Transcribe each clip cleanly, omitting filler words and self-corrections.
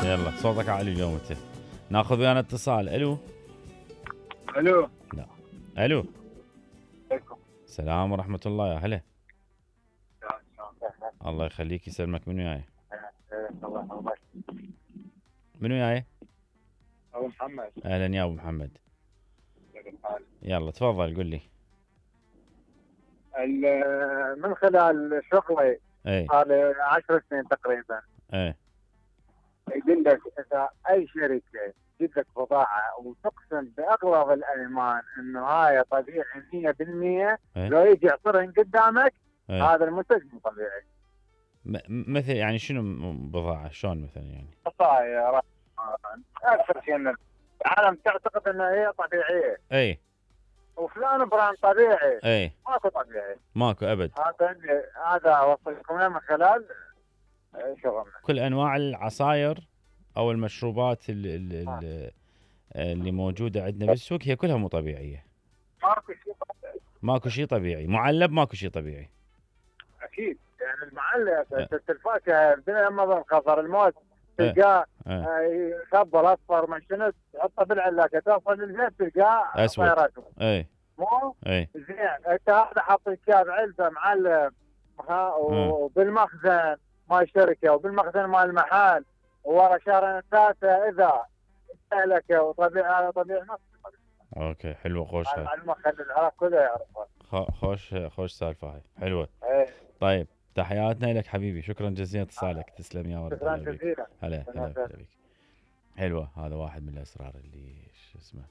يلا صوتك عالي اليوم انت. ناخذ ويانا اتصال. الو. الو. لا. الو. عليكم السلام ورحمة الله. يا هلا. السلام. الله يخليك يسلمك. منو جاي؟ الله منو جاي؟ ابو محمد. اهلا يا ابو محمد. يلا تفضل قل لي. من خلال شغلي اي صار لي 10 سنين تقريبا، اي يقول لك اذا اي شركه تجيب لك بضاعه وتقسم باغلظ الايمان انه هاي طبيعي 100%، إيه. لو يجي يعصرهن قدامك إيه. هذا المنتج مو طبيعي. مثل يعني شنو بضاعة؟ شلون مثلا يعني؟ عصاير اكثر شيء ان العالم تعتقد انها هي طبيعيه، اي وفلان براند طبيعي. اي ماكو طبيعي، ماكو ابد. هذا اوصلكم من خلال شغلنا. كل انواع العصاير او المشروبات اللي موجودة عندنا بالسوق هي كلها مو طبيعية. ماكو شيء طبيعي. ماكو شيء طبيعي. معلب ماكو شيء طبيعي. اكيد يعني المعلب الفاكهه لما بالخضر الموز تلقاه يخبل اصفر ما شنو، تحطه بالعلاقه توصل للبيت تلقاه اسود. اي مو اي زين. انت هذا حاط الكاب علبه معلب وبالمخزن مال الشركه وبالمخزن مال المحل، وورا شهرين ثلاثه اذا استهلك وطبيعي هذا طبيعي نفس. اوكي حلوه خوش هاي. المعلومه خلي العراق كله يعرفها. خوش سالفه هاي حلوه. ايه. طيب تحياتنا لك حبيبي. شكرا جزيلا اتصالك. تسلم يا ولد. شكرا جزيلا. هلا هلا بك. حلوه. هذا واحد من الاسرار اللي شو اسمه.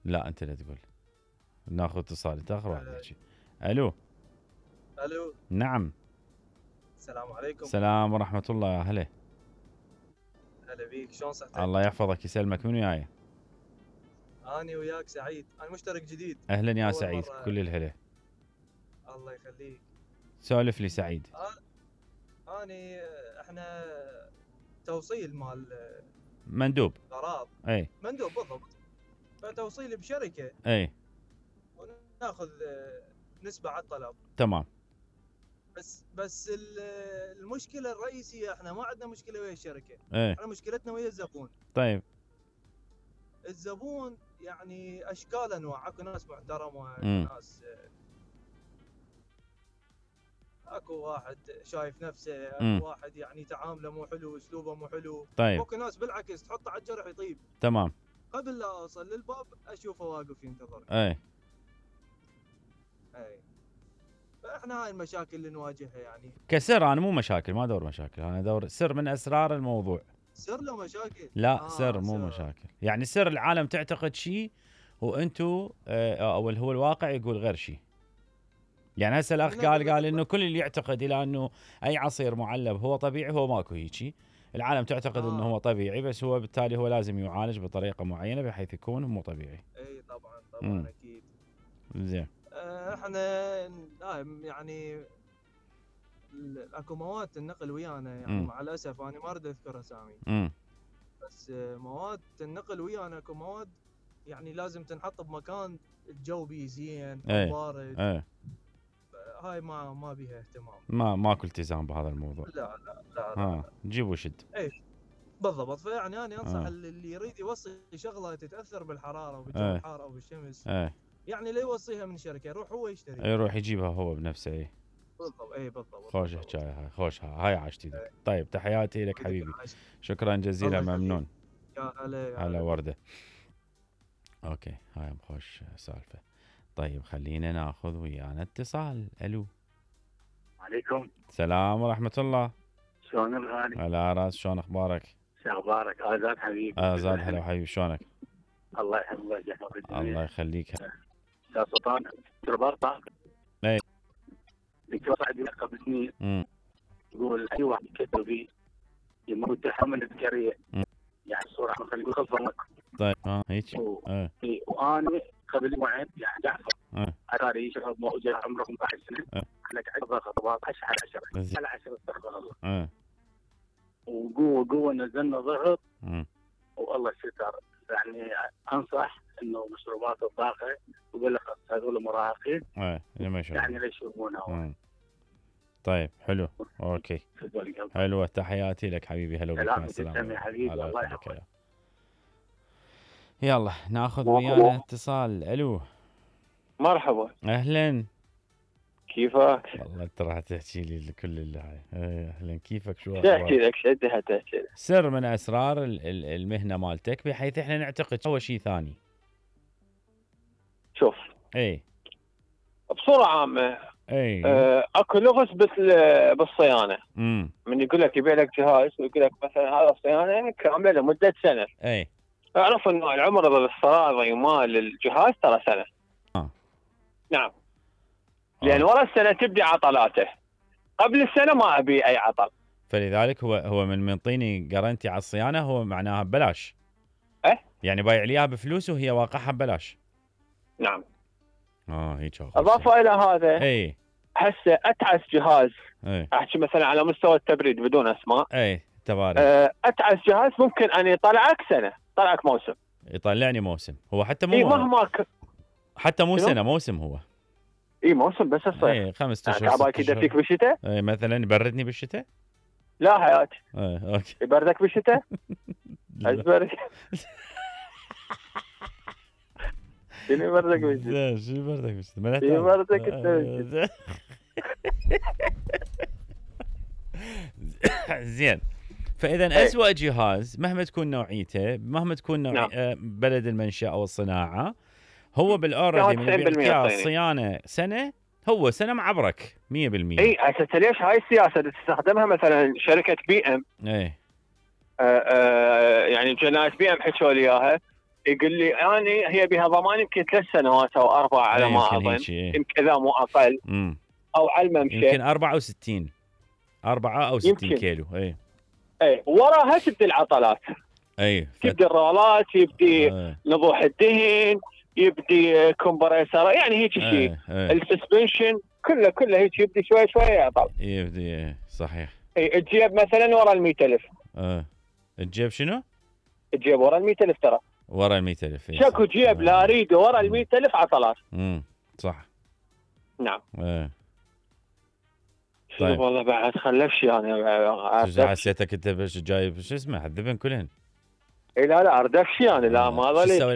لا انت لا تقول. ناخذ اتصال. انت اخر واحد يحكي. الو. الو. نعم. السلام عليكم. السلام ورحمه الله. يا هلا. هلا بيك. شلون صحتك؟ الله يحفظك يسلمك. منو جاي؟ اني وياك سعيد. انا مشترك جديد. اهلا يا سعيد. كل الهلا. الله يخليك. سولف لي سعيد. اني احنا توصيل مال مندوب. غراض. اي مندوب بالضبط. فتوصيل بشركه. اي وناخذ نسبه على الطلب. تمام. بس المشكله الرئيسيه احنا ما عندنا مشكله ويا الشركه. ايه. احنا مشكلتنا ويا الزبون. طيب. الزبون يعني اشكال انواع. اكو ناس محترمه، اكو ناس اكو واحد شايف نفسه، اكو واحد يعني تعامله مو حلو، اسلوبه مو حلو. طيب. اكو ناس بالعكس تحطه على الجرح يطيب. تمام. قبل لا اوصل للباب اشوفه واقف ينتظر. اي فاحنا هاي المشاكل اللي نواجهها يعني. كسر. انا مو مشاكل، ما دور مشاكل، انا دور سر من اسرار الموضوع. سر له مشاكل؟ لا سر مو مشاكل. يعني سر العالم تعتقد شيء وانتو او هو الواقع يقول غير شيء. يعني هسه الاخ قال انه كل اللي يعتقد الى انه اي عصير معلب هو طبيعي، هو ماكو هيجي. العالم تعتقد انه هو طبيعي، بس هو بالتالي هو لازم يعالج بطريقه معينه بحيث يكون مو طبيعي. اي طبعا اكيد. زين. احنا يعني اكو مواد النقل ويانا يعني مع الاسف انا ما اريد اذكر اسامي. بس مواد النقل ويانا اكو مواد يعني لازم تنحط بمكان الجو بيه زين او بارد. هاي ما بيها اهتمام. ماكو التزام بهذا الموضوع. لا. جيب وشد. اي بالضبط. فيعني انا انصح اللي يريد يوصي شغله تتاثر بالحراره وبالجو الحار او بالشمس. يعني لا يوصيها من شركه، يروح هو يشتري. يروح يجيبها هو بنفسه. بالضبط. خوش حكايه هاي. خوش هاي عاشتي لك. طيب تحياتي لك حبيبي. شكرا جزيلا. ممنون. يا هلا. على ورده. اوكي هاي خوش سالفه. طيب خلينا ناخذ ويانا اتصال. الو. عليكم السلام ورحمه الله. شلون الغالي؟ على راس. شلون اخبارك؟ شو اخبارك؟ ازاد حبيبي. ازاد هلا حبيبي. شلونك؟ الله يحفظك ويحفظك. الله يخليك. يا سلطان رباطه. اي دكتور عندي قبل سنين يقول اي واحد يكتب فيه يموت تحمل الذكريه. يعني صوره خلينا نقول خلفه. طيب هيك. وانا قبل يومين يعني جعفر اتاري شغل موجود عمره 15 سنه. لك 10 خطوات 10 على 10 على 10 استغفر الله. وقوه نزلنا ضغط والله ستر. يعني انصح انه مشروبات الطاقه يقول لك هذول مراهقين. يعني لا يشربونها. طيب حلو اوكي حلوه تحياتي لك حبيبي هلا بك مع السلامه حبيبي الله يحفظك يلا ناخذ ويانا اتصال. الو مرحبا اهلا كيفك؟ والله انت راح تحكي لي كل اللي هاي. اهلا كيفك شو تحكي لك شدها تحكي لك. سر من اسرار المهنه مالتك بحيث احنا نعتقد هو شيء ثاني. شوف اي بصوره عامه اكو لغز بالصيانه. من يقول لك يبيع لك جهاز ويقول لك مثلا هذا الصيانه كامله لمده سنه. اي اعرف انه العمر الافتراضي مال الجهاز ترى سنه. نعم. لان ورا السنه تبدي عطلاته، قبل السنه ما ابي اي عطل. فلذلك هو من منطيني جارنتي على الصيانه هو معناها ببلاش. يعني بايع ليها بفلوس وهي واقعها ببلاش. نعم. هيك اضافه الى هذا هسه اتعس جهاز. احكي مثلا على مستوى التبريد بدون اسماء. تبارك. اتعس جهاز ممكن ان يطلعك سنه، يطلعك موسم. يطلعني موسم هو حتى مو مهما حتى مو سنه موسم هو. موسم بس الصيف. 5 اشهر. تعباك يدفيك بالشتاء؟ مثلا يبردني بالشتاء؟ لا حياتي. اوكي. يبردك بالشتاء؟ ازبرك. شنو يبردك بالشتاء؟ شنو يبردك بالشتاء؟ يبردك بالشتاء. زين. فاذا اسوأ جهاز مهما تكون نوعيته، مهما تكون بلد المنشأ او الصناعه، هو بالاوردي من بيعطيك الصيانه سنه، هو سنه معبرك 100%. هسه ليش هاي السياسه تستخدمها مثلا شركه بي ام؟ يعني جناية بي ام حكوا لي اياها، يقول لي يعني هي بها ضمان يمكن 3 سنوات او 4 على ما اظن، يمكن اذا مو اقل. او على الممشى يمكن 64 4 او 60 يمكن. كيلو. وراها تبدي العطلات. تبدي الرولات، يبدي نضوح الدهن، يبدي كومبريسر، يعني هيك شيء. السسبنشن كله هيك يبدي شوي شوي يعطل. يبدي صحيح. الجيب مثلا ورا ال 100,000. الجيب شنو؟ الجيب ورا ال 100,000 ترى. ورا ال 100,000. شكو جيب لا اريده ورا ال 100,000 عطلات. صح. نعم. طيب والله بعد خلفش يعني. حسيتك انت جايب شو اسمه حذبن كلهن. لا اردفش يعني، لا ما ظليت.